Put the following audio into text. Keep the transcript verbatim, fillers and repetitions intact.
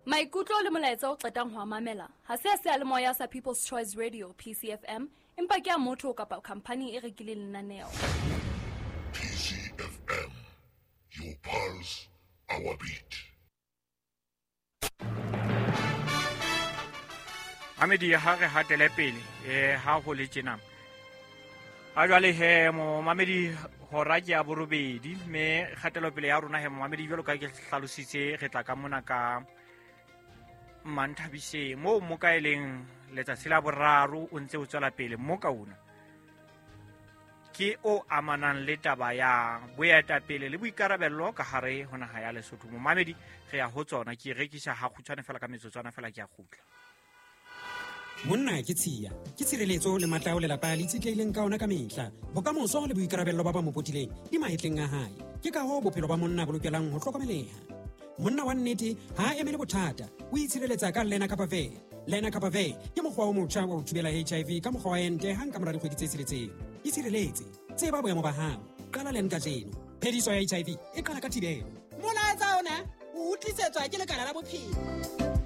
Maikutlo le molaetsa o qetang ho a mamela ha se a seyalemoya sa People's Choice Radio P C F M, empa ke a motho kapa khamphani e rekileng lenaneo. P C F M, your pulse, our beat. Mamedi, ha re hatele pele um ha ho le tjena ha jwale he, momamedi, hora ke ya borobedi, mme kgatelopele ya rona he, momamedi, jwalo ka ke hlalositse, re tla ka mona ka Mmanthabiseng moo mo ka e leng letsatsi la boraro o ntse o tswela pele mo ka ona ke o amanang le taba ya boetapele le boikarabello ka hare ho naha ya Lesotho. Momamedi, re ya ho tsona, ke rekisa ha kgutshwane fela, ka metsotswana fela ke a kgutla. Monna ke tshiya, ke tshireletso le matla ao lelapa le itshetlehileng ka ona ka mehla. Bokamoso le boikarabello ba ba mo potileng di mahetleng a hae. Ke ka hoo bophelo ba monna bo lokelang ho hlokomeleha. Monna wa nnete ha a emele bothata, o itshireletsa ka Lenacapavir. Lenacapavir ke mokgwa o motjha wa ho thibela H I V ka mokgwa wa ente hang ka mora dikgwedi tse tsheletseng. Itshireletse, tseba boemo ba hao, qala len kajeno. Phediso ya H I V e qala ka thibelo. Molaetsa ona o utlwisetswa ke lekala la bophelo.